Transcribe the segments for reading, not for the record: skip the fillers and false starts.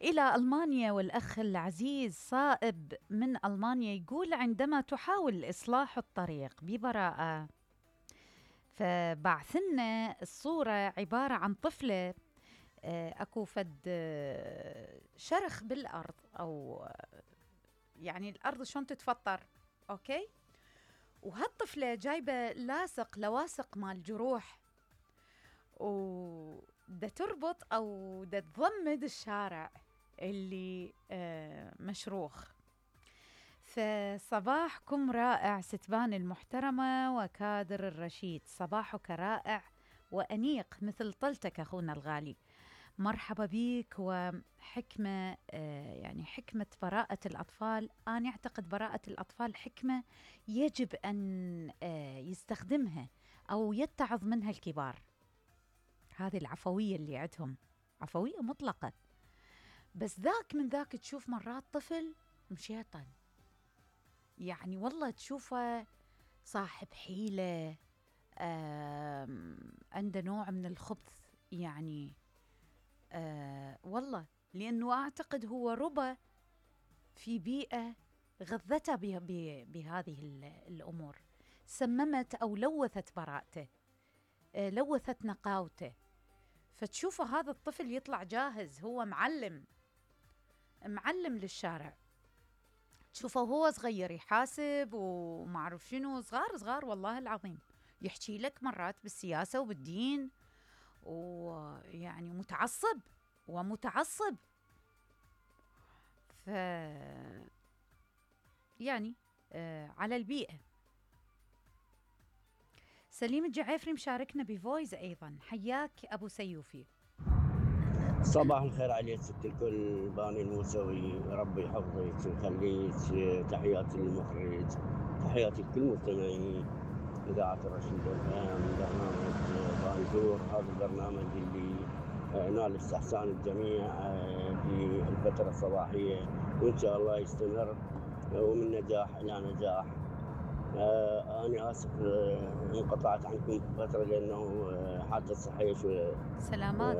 إلى ألمانيا، والأخ العزيز صائب من ألمانيا يقول: عندما تحاول إصلاح الطريق ببراءة، فبعثلنا الصورة عبارة عن طفلة أكو فد شرخ بالأرض، أو يعني الأرض شلون تتفطر، أوكي؟ وهالطفلة جايبة لواصق مال جروح، ودا تربط أو دا تضمد الشارع اللي مشروخ. فصباحكم رائع ستبان المحترمة وكادر الرشيد، صباحك رائع وأنيق مثل طلتك أخونا الغالي. مرحبا بيك. وحكمة يعني حكمة براءة الأطفال، أنا أعتقد براءة الأطفال حكمة يجب أن يستخدمها أو يتعظ منها الكبار. هذه العفوية اللي عندهم عفوية مطلقة، بس ذاك من ذاك تشوف مرات طفل مشيطن، يعني والله تشوفه صاحب حيلة، عنده نوع من الخبث، يعني والله، لأنه أعتقد هو ربى في بيئة غذته بهذه الأمور، سممت أو لوثت براءته، لوثت نقاوته. فتشوفه هذا الطفل يطلع جاهز، هو معلم للشارع. تشوفه هو صغير يحاسب وما أعرف شنو، صغار والله العظيم، يحكي لك مرات بالسياسة وبالدين، ويعني متعصب. يعني على البيئة. سليم الجعيفري مشاركنا بفويس أيضا، حياك أبو سيوفي. صباح الخير عليك ست الكل، باني الموسوي، ربي يحفظك ويخليك. تحياتي للمخرج، تحياتي لكل مستمعين إذاعة الرشيد FM، برنامج بانجور. هذا البرنامج اللي نال استحسان الجميع في الفترة الصباحية، وإن شاء الله يستمر ومن نجاح إلى نجاح. أنا آسف انقطعت عنكم فترة لأنه حالتي الصحية شوية سلامات.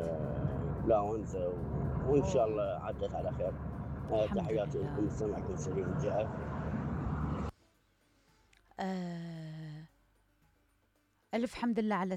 لا أنسى، وإن شاء الله عدت على خير. تحياتي لكم، مستمعكم سليم الجعيفري. ألف حمد لله على